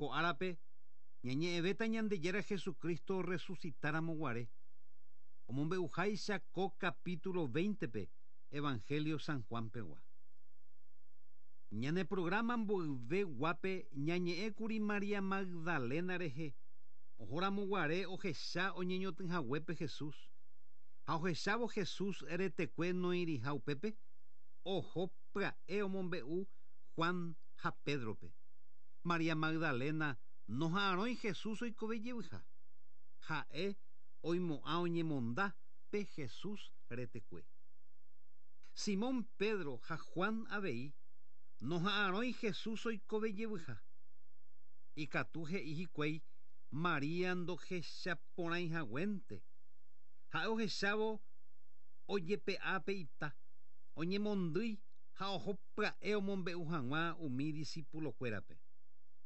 Ko árape ñañe'ẽvéta Ñandejára Jesucristo orresucitáramo guare, omombe'uháicha ko capítulo 20-pe Evangelio San Juan-pegua. Ñane programa mboyve guápe ñañe'ẽkuri María Magdalena rehe ohóramo guare ohecha oñeñotỹhaguépe Jesús. Ha ohechávo Jesús retekue noĩriha upépe, oho pya'e omombe'u Juan ha Pedro-pe. María Magdalena noha'arõi Jesús oikove jevyha. Ha'e oimo'ã oñemonda pe Jesús retekue. Simón Pedro ha Juan avei noha'arõi Jesús oikove jevyha. Ikatu he'i hikuái María ndohechaporãihaguénte. Ha'e ohechávo ojepe'a pe ita, oñemondýi ha oho pya'e omombe'u hag̃ua umi disípulokuérape.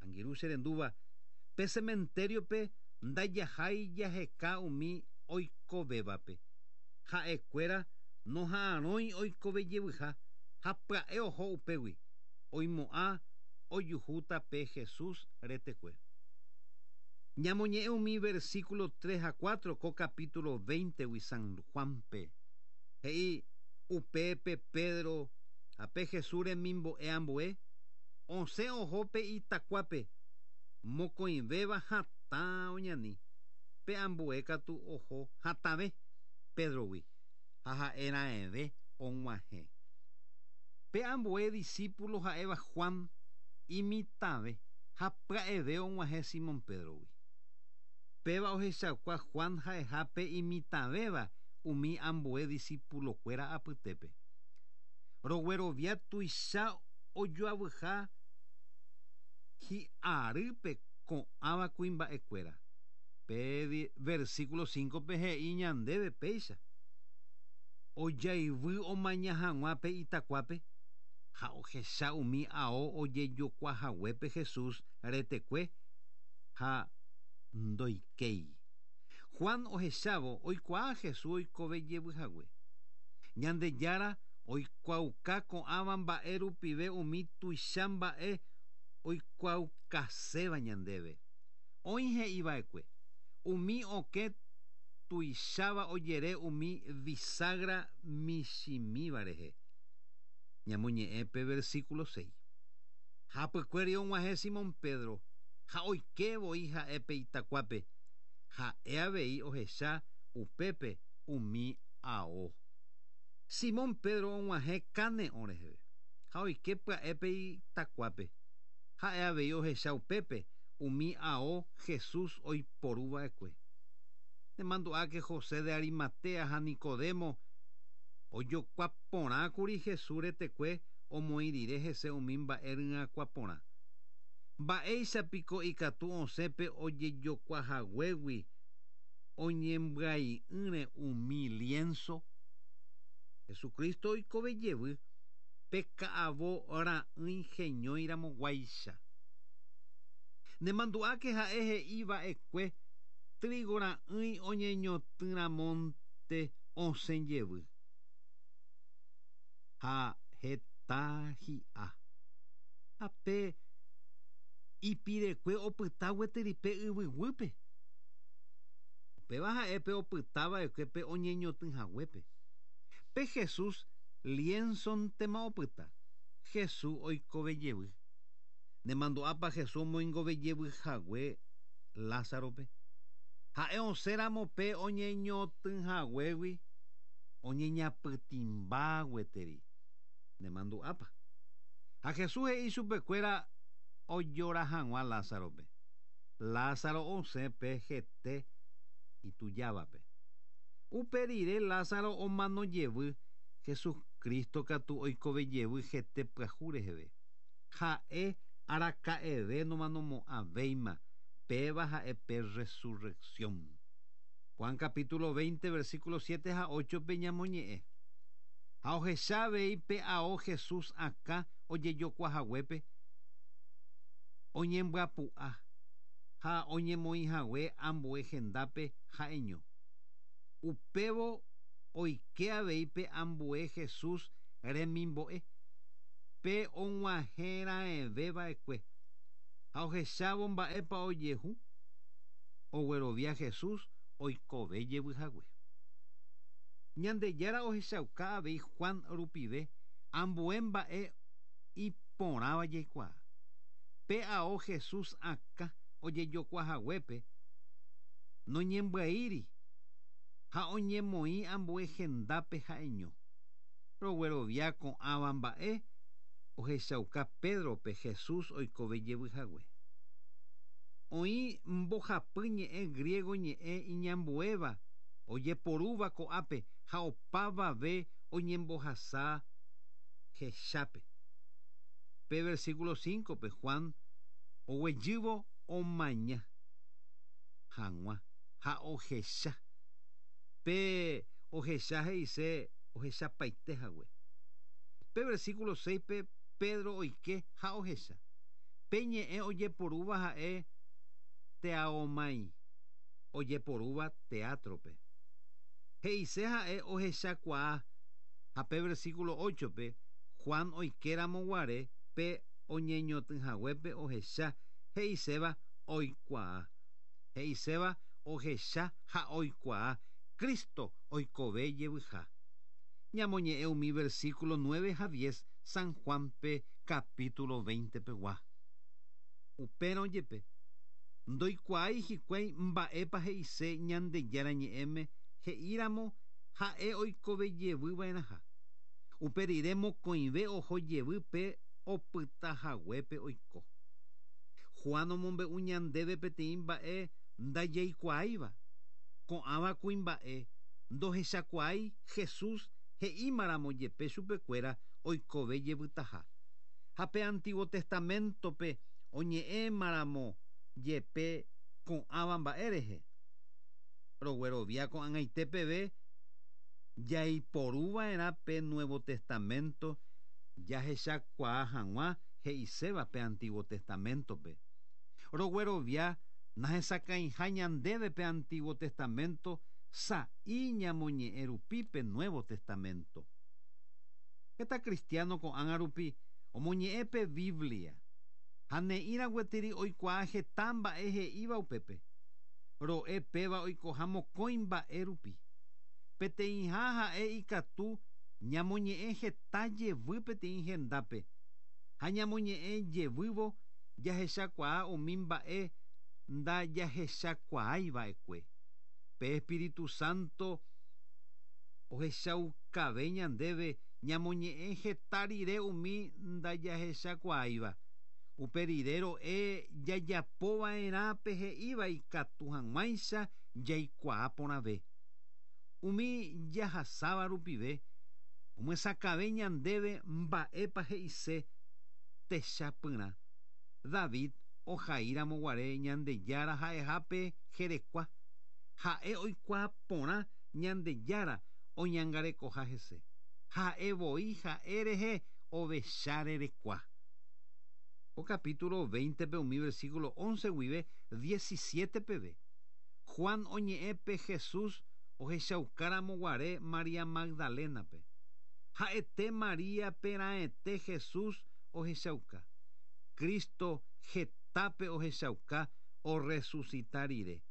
Angirũ che rendúva, pe sementériope ndajahái jaheka umi oikovévape. Ha'ekuéra noha'arõi oikove jevyha ha pya'e oho upégui, oimo'ã ojuhúta pe Jesús retekue. Ñamoñe'ẽ umi versículo tres ha cuatro ko capítulo véintegui San Juan-pe. He'i upépe Pedro ha pe Jesús remimbo'e ambue, osẽ oho pe itakuápe, mokõivéva hatã oñani, pe ambue katu oho hatãve Pédrogui ha ha'e raẽve og̃uahẽ. Pe ambue disípulo ha'éva Juan imitãve ha pya'eve og̃uahẽ Simón Pédrogui. Péva ohechauka Juan ha'eha pe imitãvéva umi ambue disípulokuéra apytépe. Roguerovia tuicha ojoavyha hi'arýpe ko'ãva kuimba'ekuéra. Pe versículo 5-pe he'i ñandéve péicha, Ojaivy omaña hag̃ua pe itakuápe ha ohecha umi ao ojejokuahaguépe Jesús retekue ha ndoikéi. Juan ohechávo oikuaa Jesús oikove jevy hague. Ñandejára oikuaauka ko'ãva mba'e rupive umi tuicha mba'e oikuaaukaséva ñandéve. Oĩ he'i va'ekue, Umi okẽ tuicháva ojere umi bisagra michĩmíva rehe. Ñamoñe'ẽ pe versículo seis. Hapykuéri og̃uahẽ Simón Pedro ha oike voi ha'e pe itakuápe, ha'e avei ohecha upépe umi ao. Simón Pedro og̃uahẽ kane'õ reheve ha oike pya'e pe itakuápe, ha'e avei ohecha upépe umi ao Jesús oiporu va'ekue. Nemandu'áke José de Arimatea ha Nicodemo ojokua porã kuri Jesús retekue omoĩ rire hese umi mba'e ryakuã porã. Mba'éicha piko ikatu osẽ pe ojejokua haguégui oñembyai'ỹre umi lienzo? Jesucristo oikove jevy pe ka'avo ra'ỹi heñói ramo guáicha. Nemandu'áke ha'e he'i va'ekue trigo ra'ỹi oñeñotỹ ramónte osẽ jevy. Ha heta hi'a. Ha pe ipirekue opyta gueteri pe yvy guýpe. Upéva ha'e pe opyta va'ekue pe oñeñotỹ haguépe. Pe Jesús liénsontema opyta, Jesús oikove jevy. Nemandu'ápa Jesús omoingove jevy hague Lázarope? Ha'e osẽ ramo pe oñeñotỹ haguégui oñeñapytĩmba gueteri. Nemandu'ápa? Ha Jesús he'i chupekuéra ojora hag̃ua Lázarope. Lázaro osẽ pe hete itujávape. Upe rire Lázaro omano jevy, Jesucristo katu oikove jevy hete pyahu reheve. Ha'e araka'eve nomanomo'ãvéima, péva ha'e pe resurrección. Juan capítulo 20, versículo 7 ha 8 pe ñamoñe'ẽ. Ha ohecha avei pe ao Jesús akã ojejokuahaguépe, oñembyapu'a ha oñemoĩhague ambue hendápe ha'eño. Upévo oike avei pe ambue Jesús remimbo'e, pe og̃uahẽraẽve va'ekue. Ha ohechávo mba'épa ojehu, oguerovia Jesús oikove jevy hague. Ñandejára ohechauka avei Juan rupive ambue mba'e iporãva jaikuaa. Pe ao Jesús akã ojejokua haguépe noñembyaíri ha oñemoĩ ambue hendápe ha'eño. Roguerovia ko'ãva mba'e ohechauka Pédrope Jesús oikove jevy hague. Oĩ mbohapy ñe'ẽ griego ñe'ẽ iñambuéva ojeporúva ko'ápe ha opavave oñembohasa hechápe. Pe versículo 5-pe Juan oguejývo omaña hag̃ua ha ohecha. Pe ohecha he'ise ohechapaite hague. Pe versículo 6-pe Pedro oike ha ohecha. Pe ñe'ẽ ojeporúva ha'e teaomai, ojeporúva teatro-pe. He'ise ha'e ohechakuaa ha pe versículo 8-pe Juan oikéramo guare pe oñeñotỹ haguépe ohecha he'iséva oikuaa. He'iséva ohecha ha oikuaa Cristo oikove jevyha. Ñamoñe'ẽ umi versículo 9 ha 10 San Juan-pe capítulo 20 pegua. Upérõ jepe, ndoikuaái hikuái mba'épa he'ise Ñandejára ñe'ẽme he'íramo ha'e oikove jevy va'erãha. Upe rire mokõive oho jevy pe opyta haguépe oiko. Juan omombe'u ñandéve peteĩ mba'e ndajaikuaáiva. Ko'ãva kuimba'e ndohechakuaái Jesús he'ímaramo jepe chupekuéra oikove jevytaha. Ha pe Antiguo Testamento-pe oñe'ẽmaramo jepe ko'ãva mba'e rehe. Roguerovia ko'ag̃aite peve jaiporuva'erã pe Nuevo Testamento jahechakuaa hag̃ua he'iséva pe Antiguo Testamento-pe. Roguerovia nahesakãiha ñandéve pe Antiguo Testamento sa'i ñamoñe'ẽ rupi pe Nuevo Testamento. Heta cristiano ko'ág̃a rupi omoñe'ẽ pe Biblia ha ne'ĩra gueteri oikuaa heta mba'e he'íva upépe. Ro'e péva oikoha mokõi mba'e rupi. Peteĩha ha'e ikatu ñamoñe'ẽ heta jevy peteĩ hendápe ha ñamoñe'ẽ jevývo jahechakuaa umi mba'e ndajahechakuaái va'ekue. Pe Espíritu Santo ohechaukave ñandéve ñamoñe'ẽ heta rire umi ndajahechakuaáiva. Upe rire ro'e jajapova'erã pe he'íva ikatu hag̃uáicha jaikuaa porãve. Umi jahasáva rupive omyesakãve ñandéve mba'épa he'ise techapyrã. David ohaíramo guare Ñandejára ha'eha pe jerekua. Ha'e oikuaa porã Ñandejára oñangarekoha hese. Ha'e voi ha'e rehe ovecha rerekua. Ko capítulo 20-pe umi versículo 11 guive 17 peve, Juan oñe'ẽ pe Jesús ohechaukáramo guare María Magdalena-pe. Ha'ete María-pe raẽte Jesús ohechauka. Cristo hetápe ohechauka orresucita rire.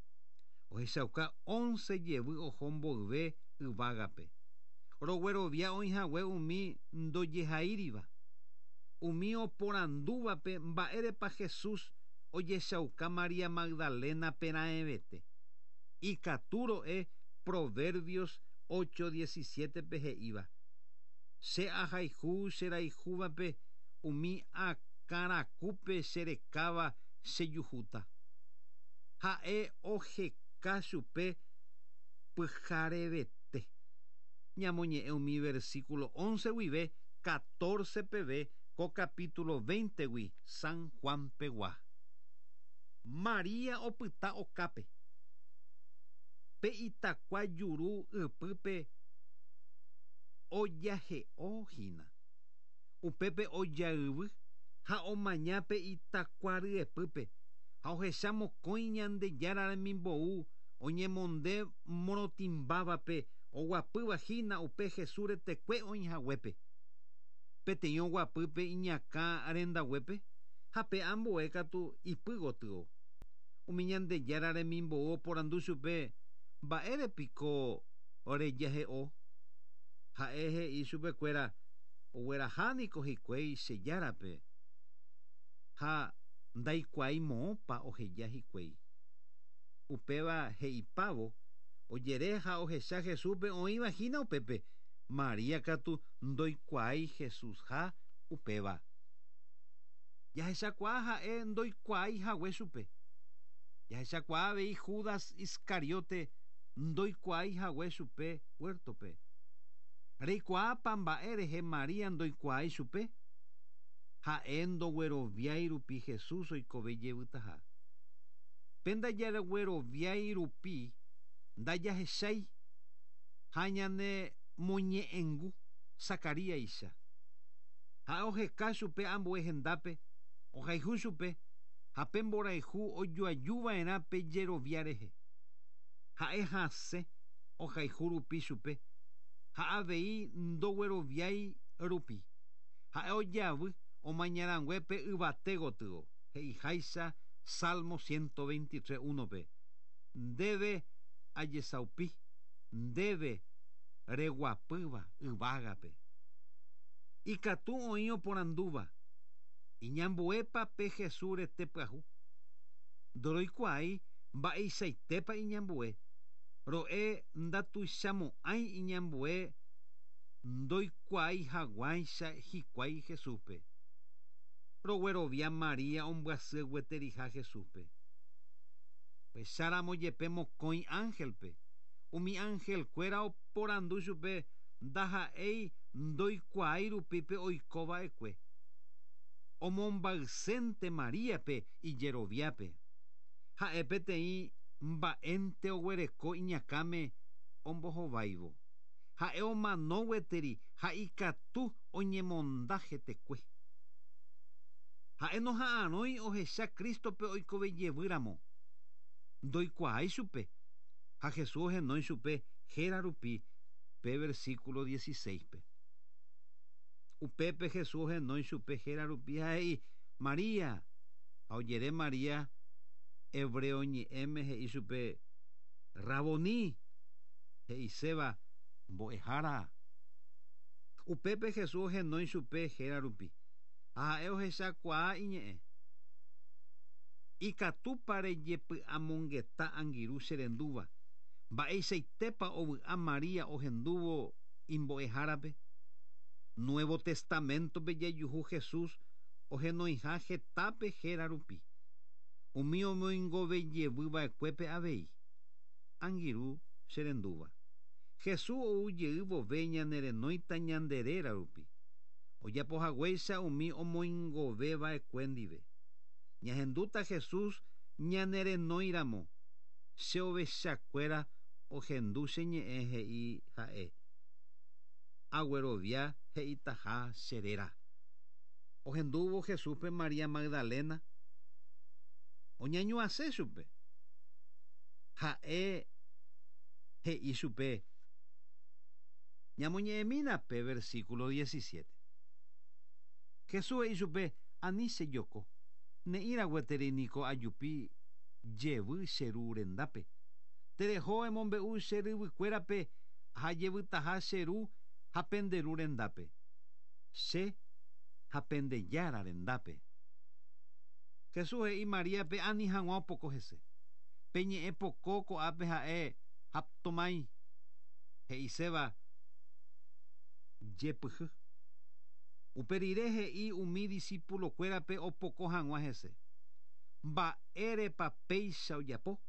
Ohechauka once jevy oho mboyve yvágape. Roguerovia oĩhague umi ndojehaíriva. Umi oporandúvape mba'érepa Jesús ojechauka María Magdalena-pe raẽvete. Ikatu ro'e Proverbios 8:17-pe he'íva, Che ahayhu che rayhúvape umi akã rakúpe che rekáva che juhúta. Ha'e oheka chupe pyharevete. Ñamoñe'ẽ umi versículo 11 guive 14 peve ko capítulo 20-gui San Juan pegua. María opyta okápe. Pe itakua juru ypýpe ojahe'o hína. Upépe ojayvy ha omaña pe itakua ryepýpe ha ohecha mokõi Ñandejára remimbou oñemonde morotĩmbávape oguapýva hína upe Jesús retekue oĩhaguépe. Peteĩ oguapy pe iñakã rendaguépe. Ha pe ambue katu ipy gotyo. Umi Ñandejára remimbou oporandu chupe, Mba'ére piko rejahe'o? Ha'e he'i chupekuéra, Ogueraha niko hikuái che Járape, ha ndaikuaái moõpa oheja hikuái. Upéva he'ipávo, ojere ha ohecha Jesúspe oĩva hína upépe, María katu ndoikuaái Jesúsha upéva. Jahechakuaa ha'e ndoikuaái hague chupe. Jahechakuaa avei Judas Iscariote ndoikuaái hague chupe huértope. Reikuaápa mba'e rehe María ndoikuaái chupe? Ha'e ndogueroviái rupi Jesús oikove jevytaha. Pe ndajagueroviái rupi ndajahechái ha ñanemoñe'ẽngu Zacaríaicha. Ha'e oheka chupe ambue hendápe, ohayhu chupe ha pe mborayhu ojoajuva'erã pe jerovia rehe. Ha'e hasẽ ohayhu rupi chupe ha avei ndogueroviái rupi. Ha'e ojavy omañarãngue pe yvate gotyo, he'iháicha Salmo 123, 1-pe, Ndéve ajesaupi, ndéve reguapýva yvágape. Ikatu oĩ oporandúva, Iñambuépa pe Jesús rete pyahu? Ndoroikuaái mba'eichaitépa iñambue, ro'e ndatuichamo'ãi iñambue ndoikuaái haguãicha hikuái Jesúspe. Roguerovia María ombyasy gueteriha Jesúspe. Ohecháramo jepe mokõi ánhelpe, umi anhelkuéra oporandu chupe ndaha'éi ndoikuaái rupi pe oiko va'ekue. Omombaysénte Maríape ijeroviápe. Ha'e peteĩ mba'énte oguereko iñakãme ombohováivo. Ha'e omano gueteri ha ikatu oñemonda hetekue. Ha'e noha'arõi ohecha Crístope oikove jevy ramo. Ndoikuaái chupe, ha Jesús ohenói chupe héra rupi pe versículo 16-pe. Upépe Jesús ohenói chupe héra rupi ha he'i, María! Ha ojere María hebreo ñe'ẽme he'i chupe, Raboní! He'iséva, Mbo'ehára! Upépe Jesús ohenói chupe héra rupi, ha ha'e ohechakuaa iñe'ẽ. Ikatúpa rejepy'amongeta angirũ che rendúva, mba'eichaitépa ovy'a María ohendúvo imbo'ehárape? Nuevo Testaméntope jajuhu Jesús ohenoiha hetápe héra rupi, umi omoingove jevy va'ekuépe avei. Angirũ che rendúva. Jesús ou jey vove ñane renóita ñande réra rupi, ojapo haguéicha umi omoingove va'ekue ndive. Ñahendúta Jesús ñane renói ramo, che ovecha kuéra ohendu che ñe'ẽ he'i ha'e, Aguerovia he'itaha che réra. Ohendúvo Jesúspe María Magdalena oñañuãse chupe. Ha'e he'i chupe, Ñamoñe'ẽmína pe versículo 17. Jesús he'i chupe, Ani che joko, ne'ĩra gueteri niko ajupi jevy che Ru rendápe. Tereho emombe'u che ryvykuérape ha jevytaha che Ru ha pende Ru rendápe, che ha pende Jára rendápe. Jesús he'i Maríape ani hag̃ua opoko hese. Pe ñe'ẽ poko ko'ápe ha'e haptomái, he'iséva jepyhy. Upe rire he'i umi disípulokuérape opoko hag̃ua hese. Mba'érepa péicha ojapo?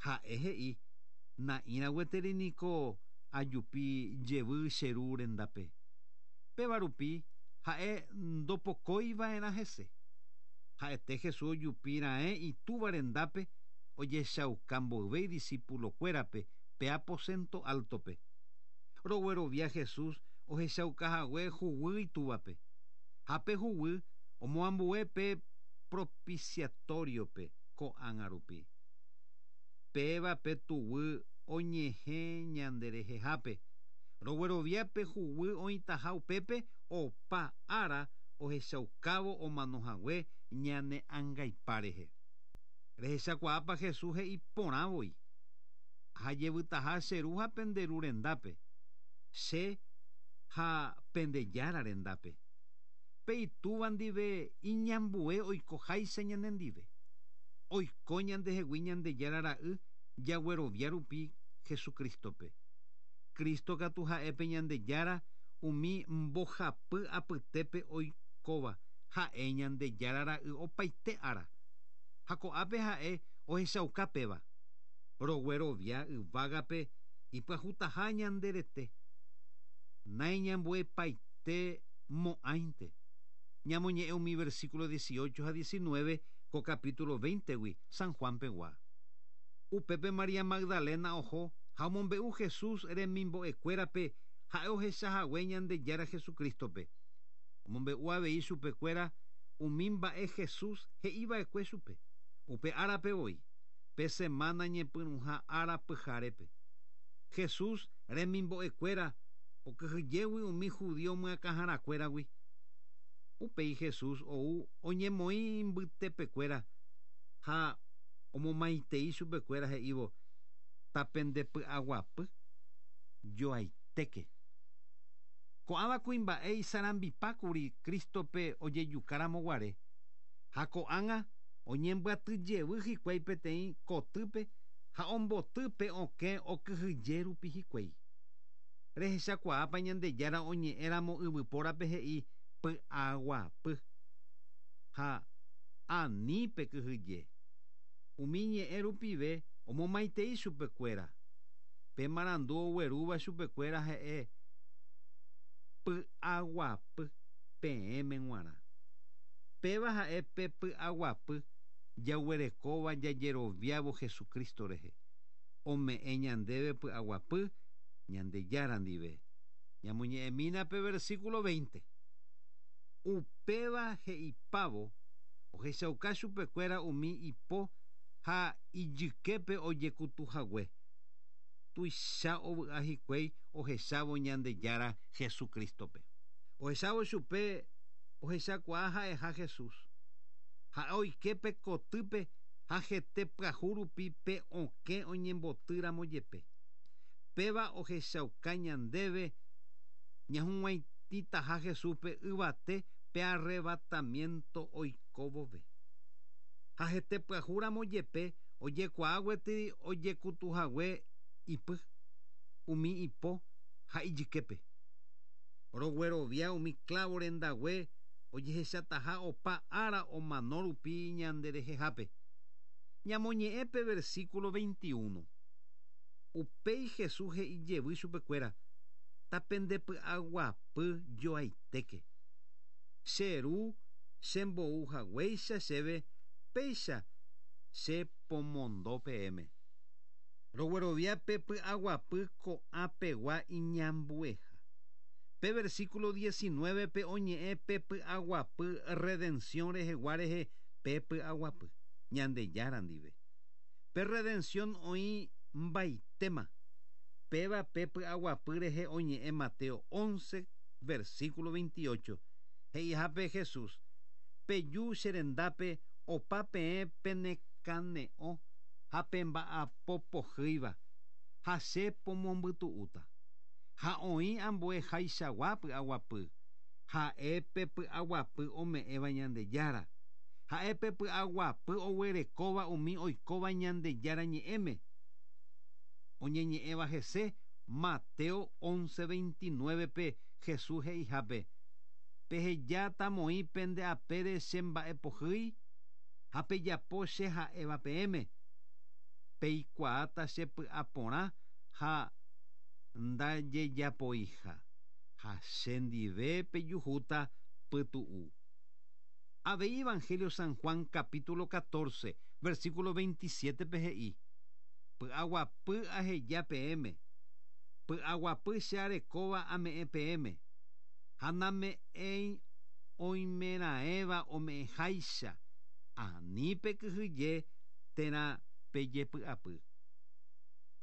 Ha'e he'i, Na'ĩra gueteri niko ajupi jevy che Ru rendápe. Péva rupi ha'e ndopokói va'erã hese. Ha'ete Jesús ojupi raẽ Itúva rendápe ojechauka mboyve idisípulokuérape pe aposento áltope. Roguerovia Jesús ohechauka hague huguy Itúvape. Ha pe huguy omoambue pe propiciatoriope ko'ág̃a rupi. Péva pe tuguy oñehẽ ñande rehehápe. Roguerovia pe huguy oĩtaha upépe opa ára ohechaukávo omanohague ñane angaipa rehe. Rehechakuaápa Jesús he'i porã voi. Ha jevytaha che ru ha pende ru rendápe. Che ha pende Jára rendápe. Pe itúva ndive iñambue oikoháicha ñanendive. Oiko ñandehegui Ñandejára ra'y jaguerovia rupi Jesucristo-pe. Cristo katu ha'e pe Ñandejára umi mbohapy apytépe oikóva, ha'e Ñandejára ra'y opaite ára. Ha ko'ápe ha'e ohechauka péva. Roguerovia yvágape ipyahutaha ñande rete. Naiñambuepaite mo'ãinte. Ñamoñe'ẽ umi versículo 18 ha 19 ko capítulo 20-gui San Juan pegua. Upépe María Magdalena oho ha omombe'u Jesús remimbo'ekuérape ha'e ohechahague Ñandejára Jesucristo-pe. Omombe'u avei chupekuéra umi mba'e Jesús he'iva'ekue chupe. Upe árape voi, pe semana ñepyrũha ára pyharépe. Jesús remimbo'ekuéra okyhyjégui umi judío myakãharakuéragui. Upéi Jesús ou oñemoĩ mbytepekuéra ha omomaitei chupekuéra he'ívo tapendepy'aguapy joaitéke. Ko'ãva kuimba'e isarambipákuri Cristo-pe ojejukáramo guare. Ha ko'ág̃a oñembyatyjevy hikuái peteĩ kotýpe ha omboty pe okẽ okyhyje rupi hikuái. Rehechakuaápa Ñandejára oñe'ẽramo yvypórape he'i py'aguapy. Ha ani pekyhyje. Umi ñe'ẽ rupive omomaitei chupekuéra. Pe marandu oguerúva chupekuéra he'e py'aguapy peẽme g̃uarã. Péva ha'e pe py'aguapy jaguerekóva jajeroviávo Jesucristo rehe. Ome'ẽ ñandéve py'aguapy Ñandejára ndive. Ñamoñe'ẽmína pe versículo 20. Upéva he'ipávo ohechauka chupekuéra umi ipo ha ijyképe ojekutuhague. Tuicha ovy'a hikuái ohechávo Ñandejára Jesucristo-pe. Ohechávo chupe ohechakuaa ha'eha Jesús. Ha'e oike pe kotýpe ha hete pyahu rupi pe okẽ oñembotýramo jepe. Péva ohechauka ñandéve ñahug̃uaitĩtaha Jesúspe yvate pe arrebatamiento oikóvove. Ha hete pyahúramo jepe ojekuaa gueteri ojekutuhague ipy, umi ipo ha ijyképe. Roguerovia umi clavo rendague ojehechataha opa ára omano rupi ñanderehehápe. Ñamoñe'ẽ pe versículo 21. Upéi Jesús he'i jevy chupekuéra, tapendepy'aguapy joaitéke. Che ru chembou haguéicha chéve péicha che pomondo peẽme. Roguerovia pe py'aguapy ko'ãpegua iñambueha. Pe versículo 19 pe oñe'ẽ pe py'aguapy redención rehegua rehe pe py'aguapy Ñandejára ndive. Pe redención oĩ mbaitéma. Péva pe py'aguapy rehe oñe'ẽ Mateo 11, versículo 28. He'ihápe Jesús, peju che rendápe opa peẽ penekane'õ ha pemba'apopohýiva, ha che pomombytu'úta. Ha oĩ ambue haichagua py'aguapy, ha'e pe py'aguapy ome'ẽva Ñandejára. Ha'e pe py'aguapy oguerekóva umi oikóva Ñandejára ñe'ẽme. Oñeñe'ẽva hese Mateo 11:29 pe Jesús he'ihápe. Pehejáta moĩ pende apére che mba'epohýi ha pejapo che ha'éva peẽme. Peikuaáta che py'aporã ha ndajejapoiha. Ha che ndive pejuhúta pytu'u. Avei Evangelio San Juan capítulo 14, versículo 27 pe he'i. Py'aguapy aheja peẽme. Py'aguapy che arekóva ame'ẽ peẽme. Ha name'ẽi oimeraẽva ome'ẽháicha. Ani pekyhyje térã pejepy'apy.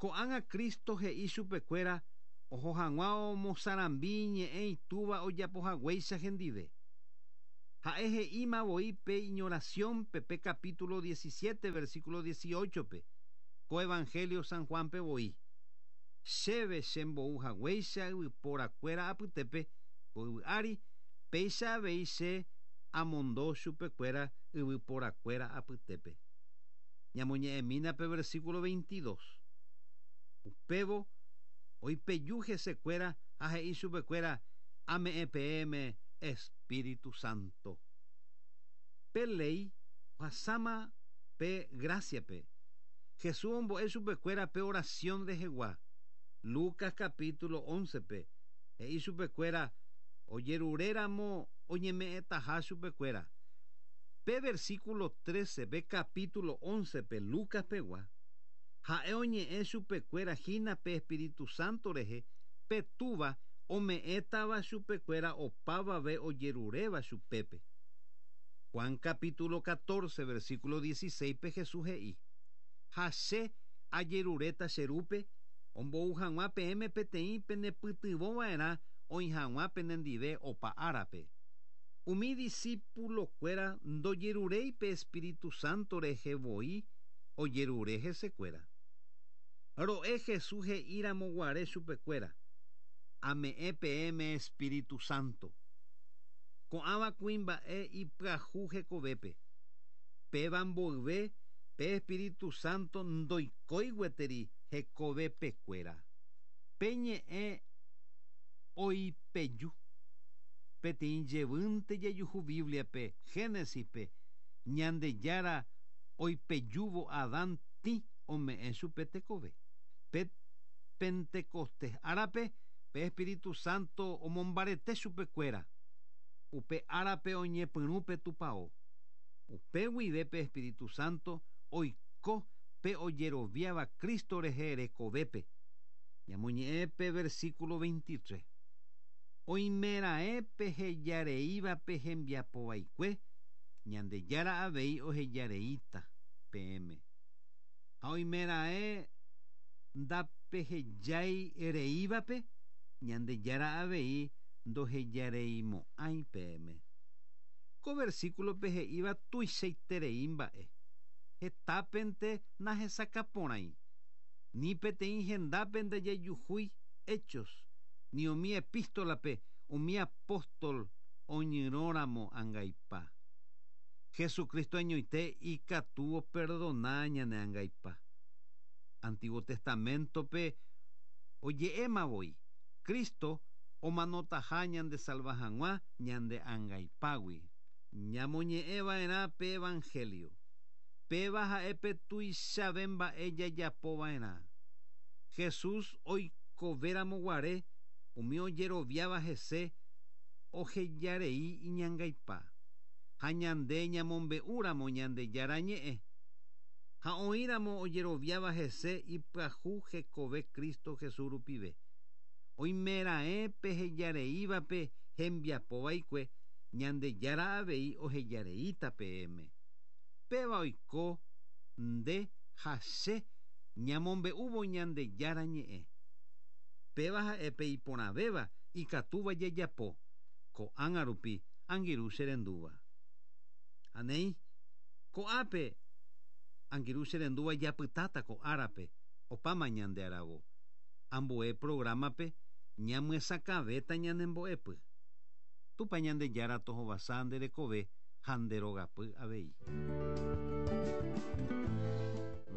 Ko'ág̃a Cristo he'i chupekuéra oho hag̃ua omosarambi ñe'ẽ itúva ojapohaguéicha hendive. Ha'e he'íma voi pe iñoración pe pe capítulo 17 versículo 18 pe ko Evangelio San Juan pe voi. Chéve chembou haguéicha yvyporakuéra apytépe ko yvy ári, péicha avei che amondo chupekuéra yvyporakuéra apytépe. Ñamoñe'ẽmína pe versículo 22. Upévo oipeju hesekuéra ha he'i chupekuéra ame'ẽ peẽme Espíritu Santo. Pe ley ohasáma pe gracia-pe. Jesús ombo'e chupekuéra pe oración rehegua. Lucas capítulo 11-pe he'i chupekuéra ojeruréramo oñeme'ẽtaha chupekuéra. Pe versículo 13 pe capítulo 11-pe Lucas pegua ha'e oñe'ẽ chupekuéra hína pe Espíritu Santo rehe pe túva ome'ẽtava chupekuéra opavave ojeruréva chupépe. Juan capítulo 14 versículo 16 pe Jesús he'i: Ha che ajeruréta che rúpe ombou hag̃ua peẽme peteĩ penepytyvõva'erã oĩ hag̃ua penendive opa árape. Umi discípulokuéra ndojeruréi pe Espíritu Santo rehe voi ojerure hesekuéra. Ro'e Jesús he'íramo guare chupekuéra: Ame'ẽ peẽme Espíritu Santo. Ko'ãva kuimba'e ipyahu hekovépe. Péva mboyve pe Espíritu Santo ndoikói gueteri hekovepekuéra. Pe ñe'ẽ oipeju. Peteĩ jevýnte jajuhu Biblia-pe, Génesis-pe, Ñandejára oipejúvo Adán tĩ ome'ẽ chupe tekove. Pe Pentecostés árape, pe Espíritu Santo omombarete chupekuéra. Upe árape oñepyrũ pe tupao. Upe guive pe Espíritu Santo oiko pe ojeroviáva Cristo rehe rekovépe. Ñamoñe'ẽ pe versículo 23. Oimeraẽ pehejareíva pe hembiapovaikue, Ñandejára avei ohejareíta peẽme. Ha oimeraẽ ndapehejái reívape, Ñandejára avei ndohejareimo'ãi peẽme. Ko versículo pe he'íva tuichaiterei mba'e. Hetápente nahesakãporãi. Ni peteĩ hendápe ndajajuhúi Hechos, ni umi epístola-pe umi apóstol oñyrõramo angaipa. Jesucristo añoite ikatu operdona ñane angaipa. Antiguo Testamento-pe oje'éma voi, Cristo omanotaha ñandesalva hag̃ua ñande angaipágui. Ñamoñe'ẽva'erã pe Evangelio. Péva ha'e pe tuichave mba'e jajapova'erã. Jesús oikovéramo guare umi ojeroviáva hese ohejarei iñangaipa. Ha ñande ñamombe'úramo Ñandejára ñe'ẽ. Ha oĩramo ojeroviáva hese ipyahu hekove Cristo Jesús rupive. Oimeraẽ pehejareívape hembiapovaikue, Ñandejára avei ohejareíta peẽme. Péva oiko nde ha che ñamombe'úvo Ñandejára ñe'ẽ. Péva ha'e pe iporãvéva ikatúva jajapo, ko'ág̃a rupi angirũ che rendúva. Ha néi, ko'ápe angirũ che rendúva japytáta ko árape opáma ñande aravo. Ambue programa-pe ñamyesakãvéta ñane mbo'epy. Tupã Ñandejára tohovasa nde rekove ha nde rogapy avei.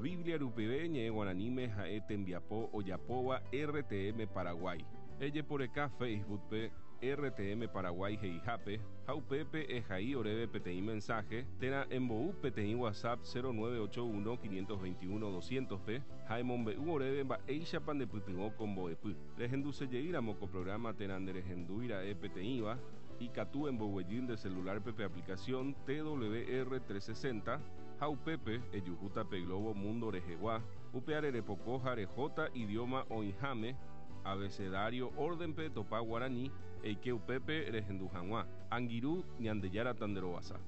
Biblia rupive ñe'ẽ guaraníme ha'e tembiapo ojapóva RTM Paraguay. Ejeporeka Facebook-pe RTM Paraguay he'ihápe ha upépe ehai oréve peteĩ mensaje térã embou peteĩ WhatsApp 0981 521 200-pe ha emombe'u oréve mba'éichapa ndepytyvõ ko mbo'epy. Rehendusejeýramo ko programa térã nderehendúira'e peteĩva, ikatu emboguejy nde celular-pe pe aplicación TWR 360 ha upépe ejuhúta pe globo mundo rehegua, upeare repoko ha rehóta idioma oĩháme, abecedario orden-pe topa guarani, eike upépe rehendu hag̃ua. Angirũ, Ñandejára tanderovasa.